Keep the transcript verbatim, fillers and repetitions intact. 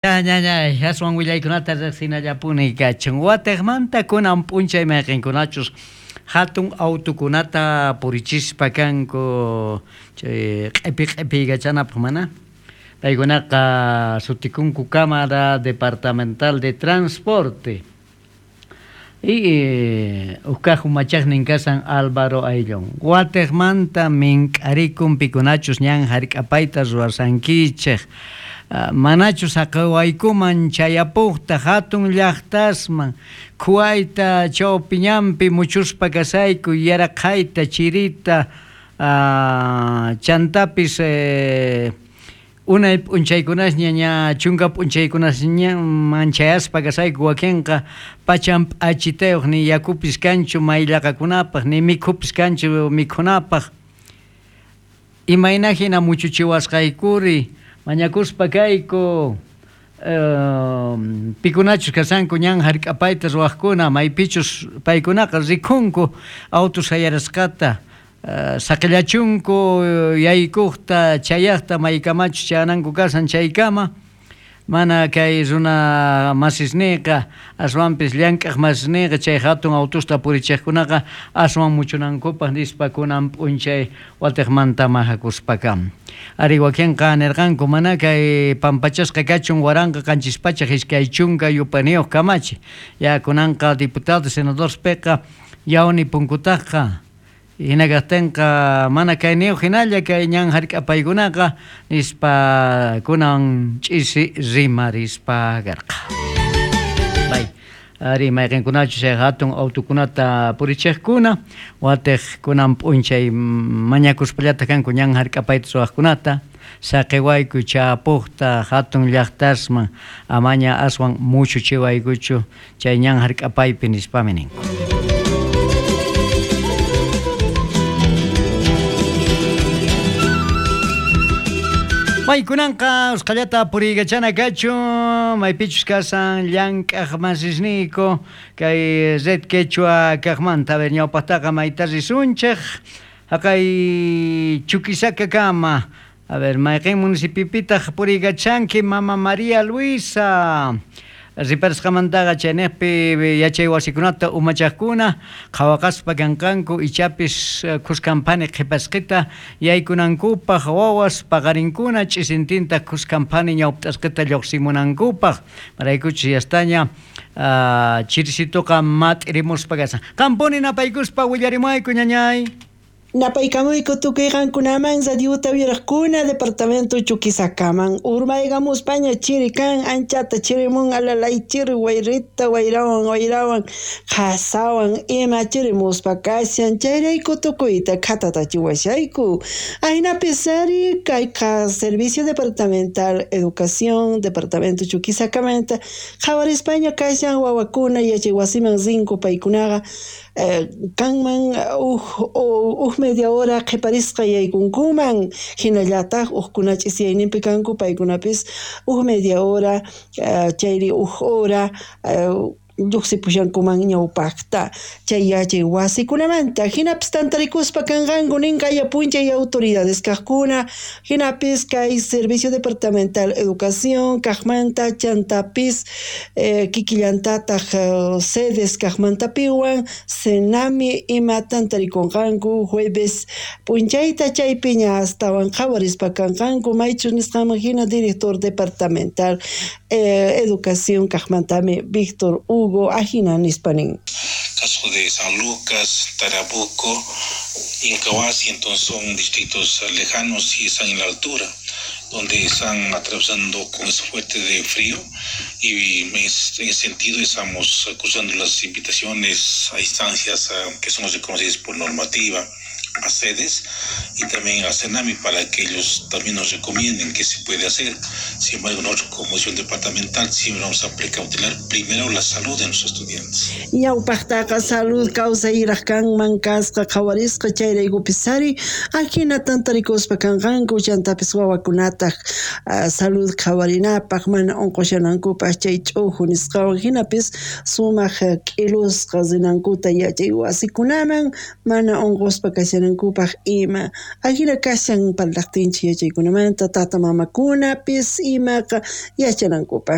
Ñañay, aswan willaykunata riqsinallapuni kachun. Watiqmanta kunan p'unchay mayqinkunachus hatun autukunata purichispa kanku chay q'ipi q'ipiykachanapaq mana. Paykunaqa sutikunku Cámara Departamental de Transporte. Y ukkaq umachaqnin kasan Álvaro Ayllón. Watiqmanta mink'arikun pikunachus ñan hark'apayta ruwasankichik. Manachus saqawaykuman chayapuqta hatun llaqtasman khuwayta chawpiñanpi muchuspa kasayku yaraqhayta chirita chantapis eh, unay p'unchaykunasña ña chunka p'unchaykunasña manchayaspa kasayku wakinqa pachan p'achitayuq ni yakupis kanchu mayllaqakunapaq ni mikhupis kanchu mikhunapaq imayna hina muchuchiwasqaykuri mañakuspa kayku pikunachus kasanku ñan hark'apayta ruwaqkuna maypichus paykunaqa rikhunku autos hayarasqata saqillachunku yaykuqta chayaqta maykamachus chayananku kasan chaykama mana kay runa masisniqa aswanpis llank'aq masisniqa chay hatun autusta purichiqkunaqa aswan muchunankupaq nispa kunan p'unchay watiqmanta mahakuspakam. Ari wakinqa nirqanku mana kay pampachasqa kachun waranqa qanchis pachak iskay chunka yupaniyuq kamachi. Ya kunanqa diputado senadorpiqa yawni punkutaqqa hina kaqtinqa mana kayniyuq hinalla kay ñan hark'apaykunaqa nispa kunan ch'isi rimarispa karqa. Bay. Ari mayqinkunachus chay hatun autukunata purichiqkuna watiq kunan p'unchay mañakuspallata kanku ñan hark'apayta ruwaqkunata saqiwayku chapuqta hatun llaqtasman amaña aswan muchuchiwaykuchu chay ñan hark'apaypi nispami ninku. Maykunanqa usqhallata puriykachana kachun maypichus kasan llank'aq masisniyku kay Red Quechua kaqmanta a ver ñawpaqtaqa mayta risunchik haqay Chuquisacakama a ver mayqin municipipitaq puriykachanki Mama María Luisa riparasqamantaqa chayniqpi yachay wasikunata umachaqkuna qhawaqaspa kanqanku ichapis khuskanphani qhipasqita yaykunankupaq wawas paqarinkuna ch'isintinta khuskanphani ñawpt'asqita lluqsimunankupaq maraykuchus yastaña chirisituqa mat'irimuspa kasan. Qampuni napaykuspa willarimuayku ñañay. Napaykamuyku tukuy qankunaman radiota uyaraqkuna departamento Chuquisacaman urmaykamuspaña chiri kan anchata chirimun alalay chiri wayrita wayrawan wayrawan qasawan ima chirimuspa kashan chayrayku tukuyta khatatachiwashayku aynapis ari kayqa Servicio Departamental Educación Departamento Chuquisacamanta qhawarispaña kashan wawakuna yachay wasiman rinku paykunaqa kanman uj uj media hora qhiparisqa yaykunkuman hinallataq uqkuna ch'isiyayninpi kanku paykunapis uj media hora chayri uj hora lluqsipushankuman ñawpaqta chay yachay wasikunamanta hinapis tantarikuspa kanqanku ninkaya p'unchay autoridades kaqkuna hinapis kay Servicio Departamental Educación kaqmanta chantapis eh, kikillantataq sedes kaqmantapiwan Senami ima tantarikunqanku jueves p'unchayta chaypiña astawan qhawarispa kanqanku maychus nisqanman hina director departamental eh, Educación kaqmantami Víctor Hugo Ajina nispanin. Caso de San Lucas, Tarabuco, Incahuasi, entonces son distritos lejanos y están en la altura, donde están atravesando con ese fuerte de frío y en ese sentido estamos cruzando las invitaciones a instancias que son reconocidas por normativa, a sedes y también a Senami para que ellos también nos recomienden qué se puede hacer. Sin embargo, nosotros como comisión departamental siempre vamos a precautelar primero la salud de nuestros estudiantes. Ñawpaqtaqa salud kawsayraq kanman kasqa qhawarisqa chayraykupis ajina tantarikuspa kanqanku chantapis wawakunataq salud qhawarinapaq mana unqushanankupaq chay ch'uju nisqawan hinapis sumaq k'ilusqa rinankuta yachay wasikunaman mana unquspa kashan yachanankupaj ima. Ajina kashan parlajtinchik yachaykunamanta tata mamakunapis imaqa yachanankupaj.